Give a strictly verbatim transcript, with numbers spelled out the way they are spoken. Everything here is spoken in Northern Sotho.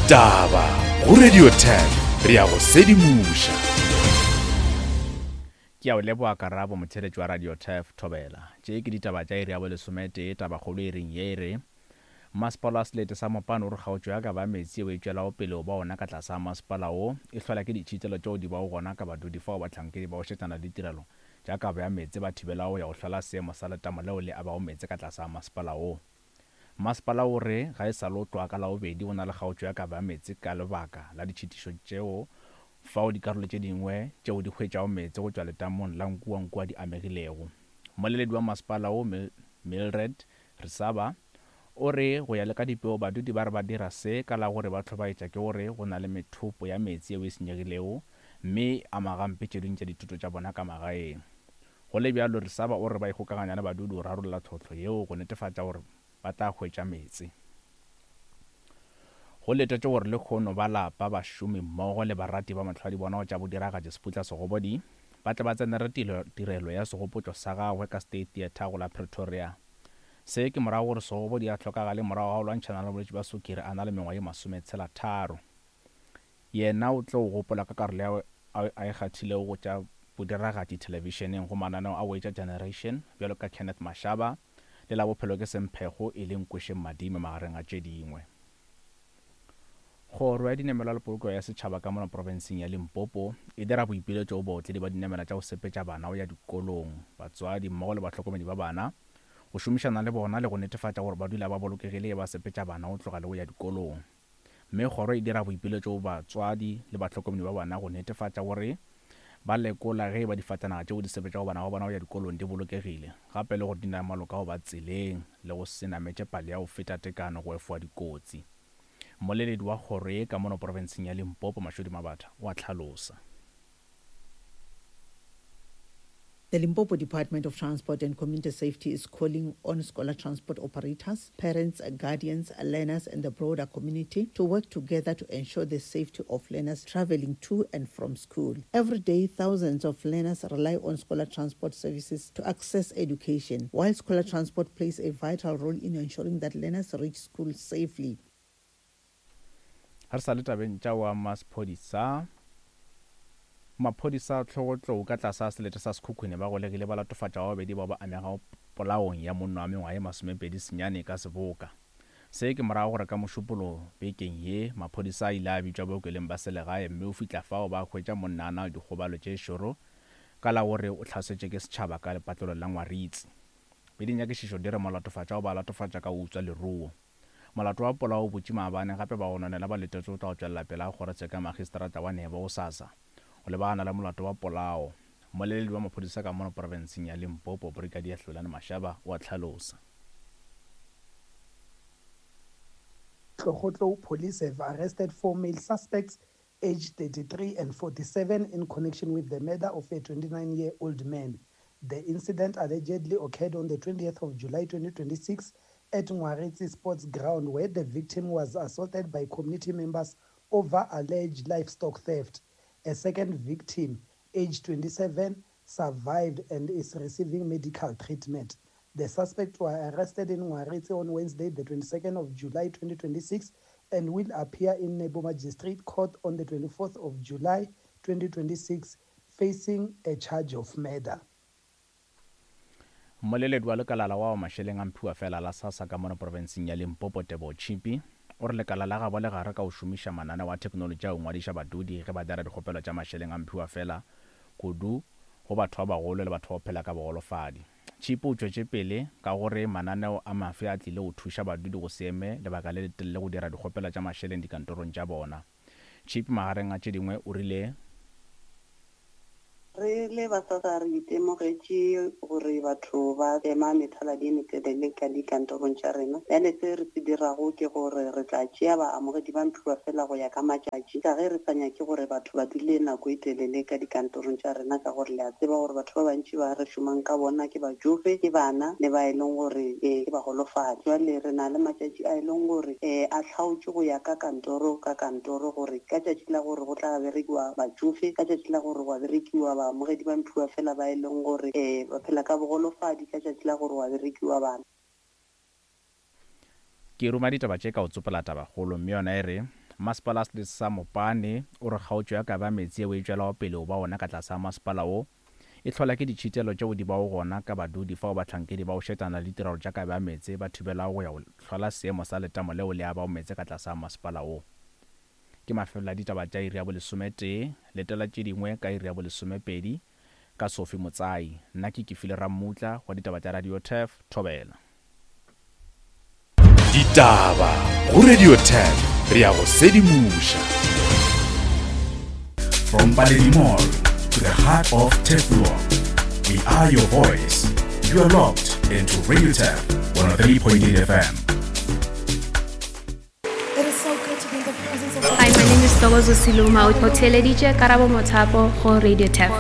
Ditaba go Radio Turf, re ya go sedimoša. Ke a o leboga Karabo, motheeletši wa Radio Turf Thobela. Tše ke ditaba tša iri ya bolesometee, tabakgolo e reng ye e re Masepala wa Selete sa Mopane o re kgaotšo ya kabo ya meetse yeo e tšwelago pele o ba ona ka tlase ga masepala wo e hlola ke ditšhitelo tšeo di bago gona ka badudi fao bahlankedi ba go šetšana le ditirelo tša kabo ya meetse ba thibelago go ya go hlola seemo sa letamo leo le abago meetse ka tlase ga masepala wo. Masepala o re ga e sa le o tloga ka Labobedi o na le kgaotšo ya kabo ya meetse ka lebaka la ditšhitišo tšeo fao dikarolo tše dingwe tšeo di hwetšago meetse go tšwa letamong la Nkuankua di amegilego. Mmoleledi wa masepala wo Mildred Resaba o re go ya le ka dipego badudi ba re ba dira se ka la gore ba hlobaetša ke gore go na le methopo ya meetse yeo e senyegilego mme e ama gampe tše dingwe tša dithuto tša bona ka magaeng. Go le bjalo Resaba o re ba ikgokaganya le badudi go rarolla tlhohlo yeo go netefatša gore ba tla hwetša meetse. Go letetšwe gore lehono ba lapa, bašomi mmogo le barati ba mahlwadibona go tša bodiragatši Seputla Segobodi ba tle ba tsenele tirelo ya segopotšo sa gagwe ka State Theatre go la Pretoria. Se ke morago gore Segobodi a hlokagale morago ga go lwantšhana le bolwetši bja sukiri a na le mengwaga ye masometshela tharo. Yena o tlo gopola ka karolo yeo a e kgathilego go tša bodiragatši thelebišeneng go mananeo a go etša Generation bjalo ka Kenneth Mashaba le la Bophelo ke Semphego e leng Kwešeng Madime magareng a tše dingwe. Kgoro ya Dinamelwa le Polokego ya Setšhaba ka mono profenseng ya Limpopo e dira boipiletšo go baotledi ba dinamela tša go sepetša bana go ya dikolong, batswadi mmogo le bahlokomedi ba bana go šomišana le bona le go netefatša gore ba dula ba bolokegile ge ba sepetša bana go tloga le go ya dikolong. Mme kgoro e dira boipiletšo go batswadi le bahlokomedi ba bana go netefatša gore ba lekola ge ba difatanaga tšeo di sepetšago bana ba bona go ya dikolong di bolokegile, gape le gore di na le maloka go ba tseleng le go se nametše palo ya go feta tekano go efoga dikotsi. Mmoleledi wa kgoro ye ka mono profenseng ya Limpopo Mashodi Mabatha o a hlalosa. The Limpopo Department of Transport and Community Safety is calling on scholar transport operators, parents, guardians, learners, and the broader community to work together to ensure the safety of learners traveling to and from school. Every day, thousands of learners rely on scholar transport services to access education, while scholar transport plays a vital role in ensuring that learners reach school safely. Re sa le tabeng tša wa maphodisa maphodisa tlhogotlou ka tlase selete sa Sekhukhune ba golegile ba latofatša ba babedi bao ba amegago polaong ya monna wa mengwaga ye masomepedi senyane ka seboka. Se ke morago gore ka Mošupologo bekeng ye maphodisa a ile a bitšwa bookelong ba selegae mme o fihla fao ba hwetša monna a na le dikgobalo tše šoro ka la gore o hlasetšwe ke setšhaba ka lepatlelo la Ngwaritsi. Be dinyakišišo di re molatofatša o ba latofatša ka go utswa leruo. Molato wa polao o butše maabane gape ba gononela ba letetše o tla go tšwelela pele ga kgorotsheko ya magistrata wa Nebo gosasa o lebagana le molato wa polao. Mmoleledi wa maphodisa ka mono profenseng ya Limpopo Brigadier Hlulani Mashaba o a hlalosa. Hlogotlou police have arrested four male suspects aged thirty-three and forty-seven in connection with the murder of a twenty-nine-year-old man. The incident allegedly occurred on the twentieth of July twenty twenty-six at Ngwaritsi Sports Ground, where the victim was assaulted by community members over alleged livestock theft. A second victim, aged twenty-seven, survived and is receiving medical treatment. The suspects were arrested in Ngwaritsi on Wednesday, the twenty-second of July twenty twenty-six, and will appear in Nebo Magistrate Court on the twenty-fourth of July twenty twenty-six, facing a charge of murder. Mmoleledi wa lekala la wa mašeleng a mphiwa fela la SASSA ka mono profenseng ya Limpopo Teboho Chipi o re lekala la gabo le gare ka go šomiša mananeo a theknolotši a go ngwadiša badudi ge ba dira dikgopelo tša mašeleng a mphiwa fela kudu go batho ba bagolo le batho ba go phela ka bogolofadi. Chipi o tšwetše pele ka gore mananeo a mafe a tlile go thuša badudi go se eme lebaka le letelele go dira dikgopelo tša mašeleng dikantorong tša bona. Chipi magareng a tše dingwe o rile Re le ba SASSA re itemogetše gore batho ba ema methaladi e metelele ka dikantorong tša rena. Bjale se re se dirago ke gore re tla tšea baamogedi ba mphiwa fela go ya ka matšatši, ka ge re sa nyake gore batho ba dule nako e telele ka dikantorong tša rena, ka gore le a tseba gore batho ba bantši ba re šomang ka bona ke batšofe, ke bana le ba e leng gore ke bagolofadi. Jwale re na le matšatši a e leng gore a hlaotšwe go ya ka kantoro ka kantoro, gore ka tšatši la gore go tla berekiwa batšofe, ka tšatši la gore go berekiwa baamogedi ba mphiwa fela ba e leng gore um ba phela ka bogolofadi, ka tšatši la gore wa berekiwa bana. Ke ruma ditaba tše ka go tsopola tabakgolo, mme yona e re Masepala wa selete sa Mopane o re kgaotšo ya kabo ya meetse yeo e tšwelago pele o ba ona ka tlase ga masepala wo e hlola ke ditšhitelo tšeo di bago gona ka badudi fao bahlankedi ba go šetšana le ditirelo tša kabo ya meetse ba thibelago go ya go hlola seemo sa letamo leo le abago meetse ka tlase ga masepala wo. Ke mafelelo a ditaba tša iri ya bolesometee, letela tše dingwe ka iri ya bolesomepedi ka Sophie Motsai. Nna ke Kefile Rammutla wa ditaba tša Radio Turf, Thobela. Ditaba go Radio Turf, re ya go sedimoša. From Paledi Mall to the heart of Turfloop, we are your voice. You are locked into Radio Turf one oh three point eight F M. It is so good to be in the presence of Hi, my name is Togozo Siluma. O theeleditše Karabo Mothapo go Radio Turf.